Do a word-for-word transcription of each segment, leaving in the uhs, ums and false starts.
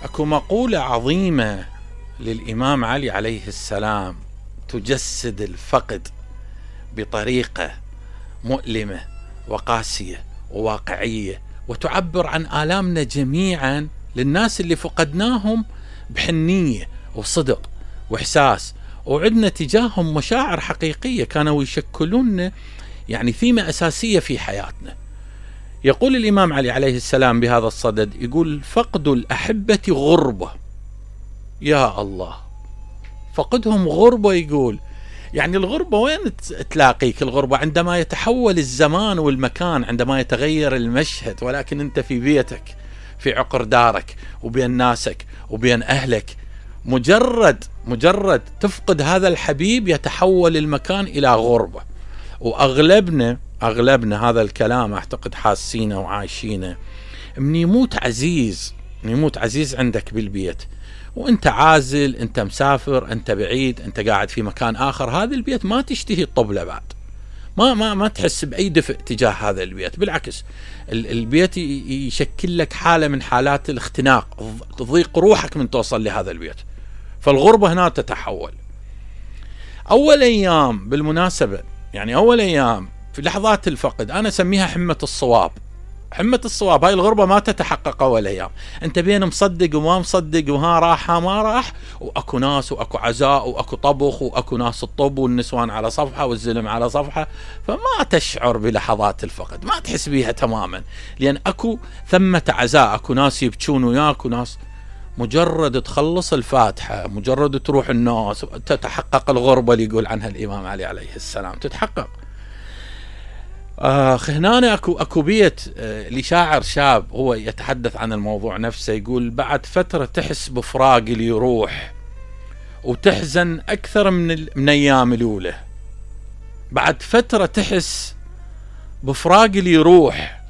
اكو مقولة عظيمة للإمام علي عليه السلام تجسد الفقد بطريقة مؤلمة وقاسية وواقعية، وتعبر عن آلامنا جميعا للناس اللي فقدناهم بحنية وصدق وإحساس، وعدنا تجاههم مشاعر حقيقية كانوا يشكلون يعني ثيمة أساسية في حياتنا. يقول الإمام علي عليه السلام بهذا الصدد، يقول: فقد الأحبة غربة. يا الله، فقدهم غربة. يقول يعني الغربة وين تلاقيك؟ الغربة عندما يتحول الزمان والمكان، عندما يتغير المشهد، ولكن أنت في بيتك، في عقر دارك، وبين ناسك وبين أهلك. مجرد مجرد تفقد هذا الحبيب يتحول المكان إلى غربة. وأغلبنا أغلبنا هذا الكلام أعتقد حاسينه وعايشينه. من يموت عزيز من يموت عزيز عندك بالبيت، وانت عازل، انت مسافر، انت بعيد، انت قاعد في مكان آخر، هذا البيت ما تشتهي الطبلة بعد، ما ما ما تحس بأي دفء تجاه هذا البيت. بالعكس، البيت يشكل لك حالة من حالات الاختناق، تضيق روحك من توصل لهذا البيت. فالغربة هنا تتحول. أول أيام بالمناسبة، يعني أول أيام في لحظات الفقد أنا أسميها حمة الصواب. حمة الصواب هاي الغربة ما تتحقق أول أيام، أنت بين مصدق وما مصدق، وها راح ما راح، وأكو ناس وأكو عزاء وأكو طبخ وأكو ناس الطب والنسوان على صفحة والزلم على صفحة، فما تشعر بلحظات الفقد، ما تحس بيها تماما، لأن أكو ثمة عزاء، أكو ناس يبكون وياك وناس. مجرد تخلص الفاتحة، مجرد تروح الناس، تتحقق الغربة اللي يقول عنها الإمام علي عليه السلام، تتحقق. آه هنا أكو, أكو بيت آه لشاعر شاب هو يتحدث عن الموضوع نفسه، يقول: بعد فترة تحس بفراق اللي يروح وتحزن أكثر من, من أيام الأولى. بعد فترة تحس بفراق اللي يروح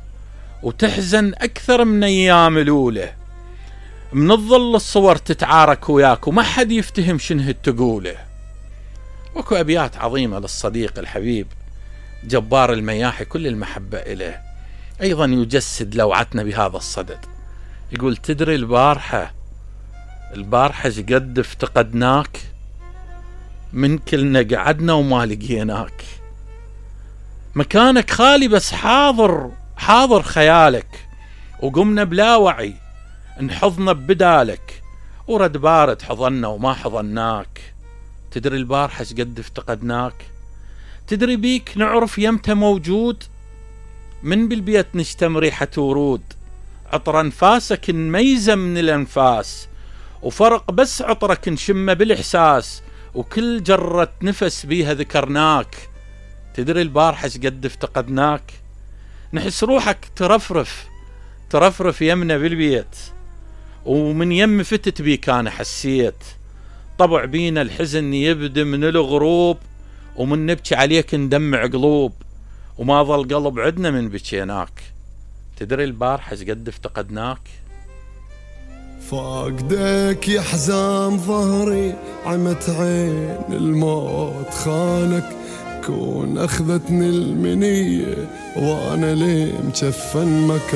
وتحزن أكثر من أيام الأولى. من الظل الصور تتعارك وياك وما حد يفتهم شنه تقوله. وكو أبيات عظيمة للصديق الحبيب جبار المياحي كل المحبة إليه، أيضا يجسد لوعتنا بهذا الصدد. يقول: تدري البارحة البارحة قد افتقدناك، من كلنا قعدنا وما لقيناك، مكانك خالي بس حاضر حاضر خيالك، وقمنا بلا وعي انحضنا ببدالك، ورد بارد حضنا وما حضناك. تدري البارحة قد افتقدناك، تدري بيك نعرف يمتى موجود، من بالبيت نشتم ريحة ورود، عطر انفاسك نميزه من الانفاس، وفرق بس عطرك نشمه بالاحساس، وكل جرة نفس بيها ذكرناك. تدري البارحة قد افتقدناك، نحس روحك ترفرف ترفرف يمنا بالبيت، ومن يم فتت بيك انا حسيت، طبع بينا الحزن يبدي من الغروب، ومن نبكي عليك ندمع قلوب، وما ظل قلب عدنا من بكيناك. تدري البارحة قد افتقدناك. فاقدك يا حزام ظهري، عمت عين الموت خانك، كون اخذتني المنية وانا ليه مجفن مكان.